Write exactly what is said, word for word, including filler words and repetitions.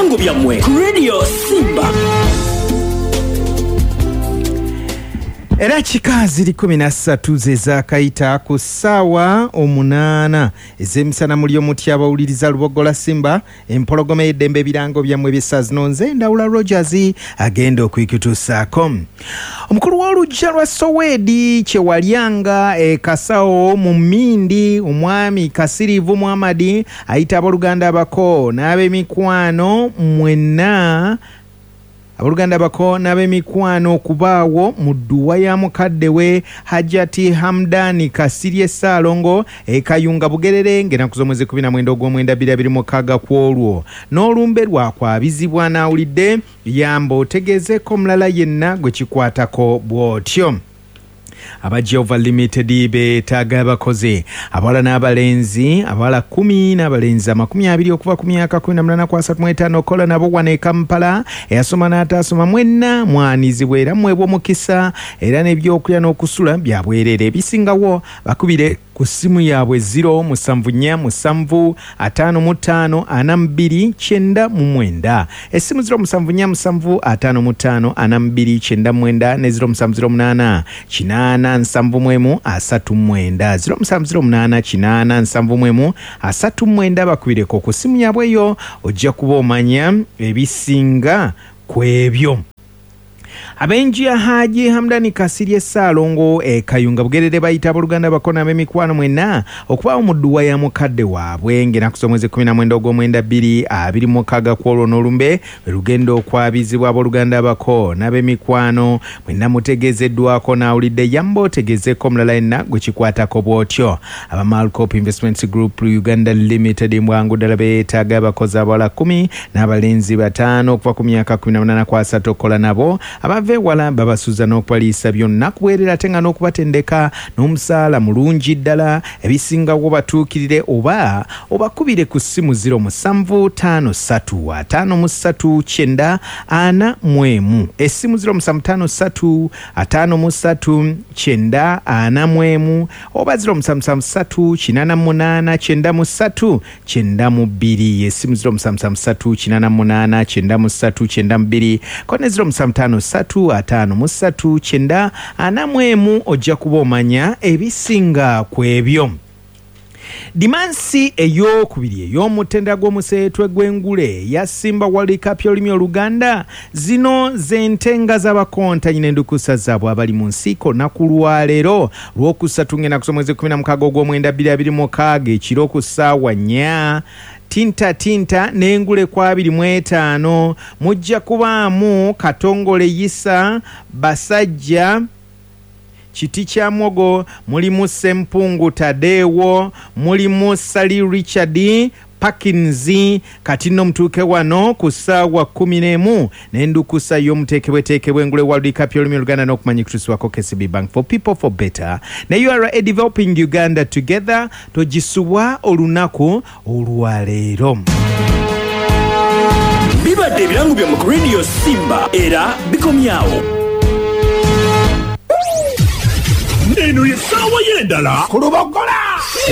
Ebirango byammwe ku Radio Simba. Era kika ziri kumi na ssatu ze zaakayita ku ssaawa omunaana ez'emisana. Muli omutya abawuliriza Lubogola Simba, empologoma y'eddembe, ebirango byammwe by'essaawa zino. Nze Ndawula Rogers agenda okwikutuusaako. Omukulu w'oluggya lwa Soweedi Kyewalyanga e Kasawo mu Mindi, omwami Kasiriivu Muhammadi, ayita abooluganda abako n'ab'emikwano mwenna, abooluganda bako n'ab'emikwano okubaawo mu dduwa ya mukadde we Hajati Hamdani Kasirye Ssaalongo e Kayunga Bugerere ng'ennaku z'omwezi kumi na mwenda ogw'omwenda bbiri abiri mukaaga ku olwo n'olumbe lwakwabizibwa. N'awulidde yamba otegeezeeko omulala yenna gwe kikwatako bw'otyo. Aba Jehova Limited beetaaga abakozi abawala n'abalenzi, abawala kumi n'abalenzi amakumi abiri okuva ku myaka kumi na munaana ku asatu mu etaano okola nabo wano e Kampala. Eyasoma n'ataasoma mwenna mwanizibwa era mweebwa omukisa, era n'ebyokulya n'okusula bya bwereere. Ebisingawo bakubire ku ssimu yaabwe zero musanvu nnya musanvu ataano mu ttaano ana mu bbiri kyenda mu mwenda. Essimu zero musanvu nnya musanvu ataano mu ttaano ana mu bbiri kyenda mu mwenda ne zero musanvu zero munaana kinaana nsanvu mu emu asatu mu mwenda, zero musanvu zero munaana kinaana nsanvu mu emu asatu mu mwenda. Bakubireko ku ssimu yaabwe eyo, ojja kuba omanya ebisinga ku ebyo. Ab'enju ya Haji Hamdani Kasirye Ssaalongo e Kayunga Bugerere bayita abooluganda bako n'ab'emikwano mwenna okubaawo mu dduwa ya mukadde waabwe ng'ennaku z'omwezi kumi na mwenda ogw'omwenda bbiri abiri mukaaga ku olwo n'olumbe lwe lugenda okwabizibwa. Abooluganda bako n'ab'emikwano mwenna mutegeezeddwako. N'awulidde yamba otegeezeeko omulala yenna gwe kikwatako bw'otyo. Aba Malcop Investments Group Uganda Limited mbwangu ddala beetaaga abakozi abawala kumi n'abalenzi bataano okuva ku myaka kumi na munaana ku asatu okukola nabo. Abava ewala babasuza n'okubaliisa byonna kuweerera, ate nga n'okubatendeka n'omusaala mulungi ddala. Ebisingawo batuukirire oba obakubire ku ssimu zero musanvu ttaano ssatu ataano mu ssatu kyenda ana mu emu. Essimu zero musanvu ttaano ssatu ataano mu ssatu kyenda ana mu emu oba zero musanvu musanvu ssatu kinaana mu munaana kyenda mu ssatu kyenda mu bbiri. Essimu zero musanvu musanvu ssatu kinaana mu munaana kyenda mu ssatu kyenda mu bbiri ko ne zero musanvu ttaano ssatu ataano mu ssatu kyenda ana mu emu, ojja kuba omanya ebisinga ku ebyo. Dimansi ey'okubiri ey'omutendera gw'omuseetwe gw'engule ya Simba World Cup y'olulimi Oluganda, zino z'entenga z'abakontanyi n'endukusa zaabwe abali mu nsiiko. Olunaku lwaleero lwokusatu ng'ennaku z'omwezi kumi na mukaaga ogw'omwenda bbiri abiri mukaaga ekiro ku ssaawa nnya, tinta tinta n'engule ku abiri mu etaano mujja kubaamu Katongole Yisa Basajja Kiti kya Mwogo, mulimu Sempungu Tadeewo, mulimu Sali Richard Parkins. Kati nno mutuuke wano ku ssaawa kkumi n'emu n'endukusa y'omuteekebweteekebwa engule World Cup y'olulimi Oluganda n'okumanya kutuusibwako K C B Bank, for people, for better, ne U R A, developing Uganda together. Togisubwa olunaku olwaleero. Bibadde ebirango byammwe ku Radio Simba era bikomyawo. Eno ye ssaawa y'endala ku Lubogola.